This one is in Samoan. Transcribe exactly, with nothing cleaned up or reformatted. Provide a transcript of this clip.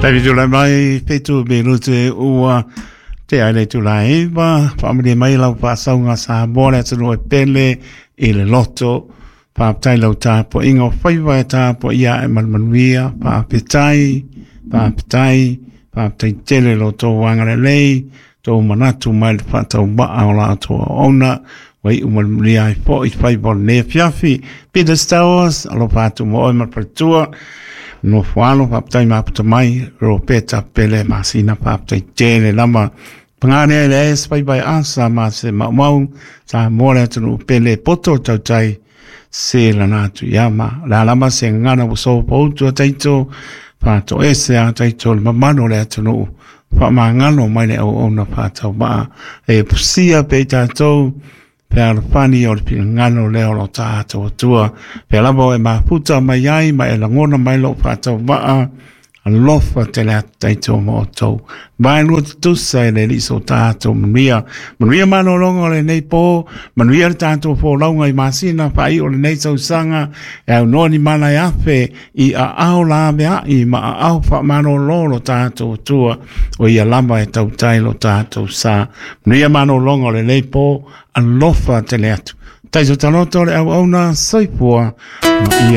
David Tula mai fitu minute ua te ai le tula iwa, whaamani mai lau whaasauga sa moa le atunuu e pele i le loto. Whaaptai lau tāpo inga o whaiwa e tāpo ia e manumanuia, whaapetai, whaapetai, whaaptai tele lo tō wangare lei, tō manatu mai le whaatau maa o la atoa ona, wai umanumanuia ai po i whaiwa o le fiafi. Peter Stowers, alo whaatu mo oi malpatua, no whalo whaptai maputa mai, Ropeta Pele Masina whaptai tele lama. Pangane le es pai pai asa ma se maumau, sa mole atunu pele poto tautai se lana atu ia ma. La lama se ngana wo poutu a taito, whato ese a taito le mamano le atunu, whamangalo mai le au ona whatau maa. E pusia pe tātou, pe alofani o le pinangano lea o lo tātou atua. Pe lava e maputa mai ai, ma e langona mai lo whatau maa, alofa te le atu taito mo o tau. Vai lua tutusa e le liso tātou manuia. Manuia manolonga o le nei pō, manuia le tātou pō launga i masina whai o le nei sausanga, e au noa ni mana e afe i a ao la mea i ma a ao wha manololo tātou atua, o ia lama e tautai lo tātou sa. Manuia manolonga o le nei pō, alofa te le atu. Taito taloto le au auna soifua ma ia.